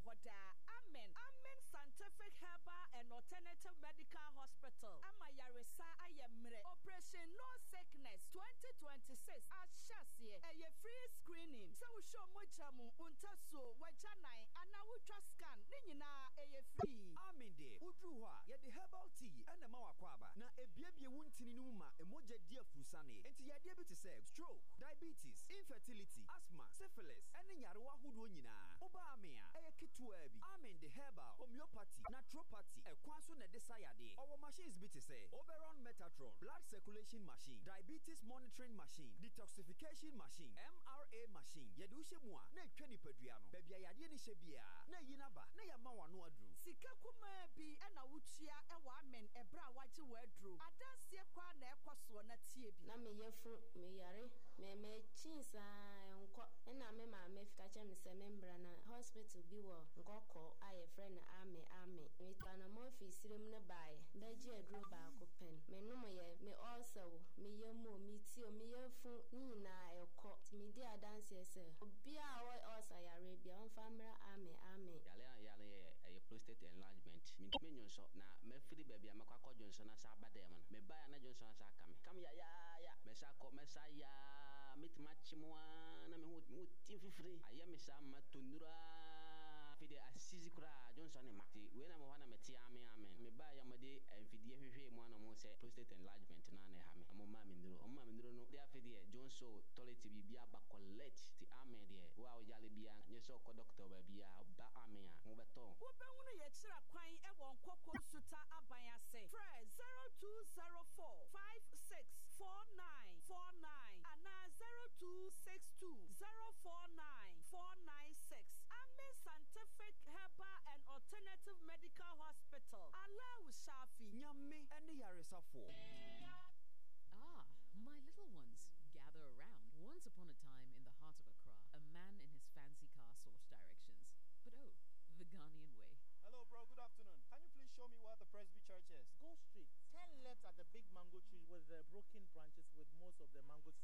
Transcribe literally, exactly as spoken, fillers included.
hɔ daa. Amen. Amen Scientific Herbal and Alternative Medical Hospital ama yaresa ayɛ mmerɛ. Operation No Sickness twenty twenty-six ahyɛ aseɛ. Ɛyɛ free screening. Sɛ wohwɛ mogya mu, ntasuo, wagyanan anaa wotwa scan ne nyinaa, ɛyɛ free. Amen deɛ, woduru hɔ a, yɛde herbal tea ɛna ma wakɔ aba na ebiebie wo ntini no mu ma emogya di afurusane. Enti yadeɛ bi te sɛ stroke, diabetes, infertility, asthma, syphilis ɛne nyarewa ahodoɔ nyinaa, woba Amen a, ɛyɛ ketewaa bi. Amen de herbal, homeopathy, naturopathy ɛkwan so na ɛde sa yadeɛ. Ɔwɔ machines bi te sɛ Oberon Metatron, blood circulation machine, diabetes monitoring machine, detoxification machine, M R A machine. Yɛde wohyɛ mu a na etwa nipadua no baabi a yadeɛ no hyɛ biara na eyi n'aba na yɛama w'ano aduru. Sika kumaa bi ɛna wotua ɛwɔ Amen ɛberɛ a wagye w'aduro. Adanseɛ kwaa na ɛkɔ soɔ na tie bi. Na meyɛ fu, meyare, mɛmɛkyin saa nkɔ, ɛna me maame ka kyerɛ me sɛ membra na hospital bi wɔ Nkɔkɔ a yɛfrɛ no Ame Ame. Metu anammɔn firi serem no baeɛ bɛgye aduro baako pɛn menom yɛ me ɔɔsa o, meyɛ mu o, meti o, meyɛ fu ne nyinaa ɛkɔ. Nti medi adanseɛ sɛ obiaa a ɔwɔ ɔɔsa yareɛ bia, ɔmfa mmra Ame Ame. Yare a yare yɛ, ɛyɛ prostate enlargement. Mentumi nwonsɔ na mɛfiri baabi a mɛkɔ akɔ dwonsɔ na sa aba dɛm no, mebaeɛ a na dwonsɔ no sa aka me kam yayaaya. Mɛsa kɔ, mɛsa yaa, mɛtumi akye mu aa na meho meho ti mfifiri ayɛ me saa ma to nnuraa. Afei deɛ, asisi koraa, dwonsɔ ne ma. Nti wei na mewɔ hɔ na mete ame ame. Mebaeɛ a, mɔde mfidie hwehwɛɛ mu ana ɔmo sɛ prostate enlargement no ana ɛha me. Ɔmo maa me nnuro, ɔmo maa me nnuro no de, afei deɛ, dwonsɔ, toilet, biribi aba collect. Nti ame deɛ, wo a woyare biara, nyɛ sɛ ɔkɔ doctor baabi a, ɔba ame a, ho bɛtɔ. Wobɛhunu yɛkyerɛ kwan ɛwɔ Nkɔkɔ Nsuta aban ase. Frɛ zero two zero four five six four nine four nine anaa zero two six two zero four nine four nine six. Amen Scientific Herbal and Alternative Medical Hospital. Allahu Shafi. Nyame ɛne yaresafoɔ. Ah, my little ones, gather around. Once upon a time in the heart of Accra, a man in his fancy car sought directions. But oh, the Ghanaian way. Hello, bro. Good afternoon. Can you please show me where the Presby Church is? Go straight. Turn left at the big mango tree with the broken branches with most of the mangoes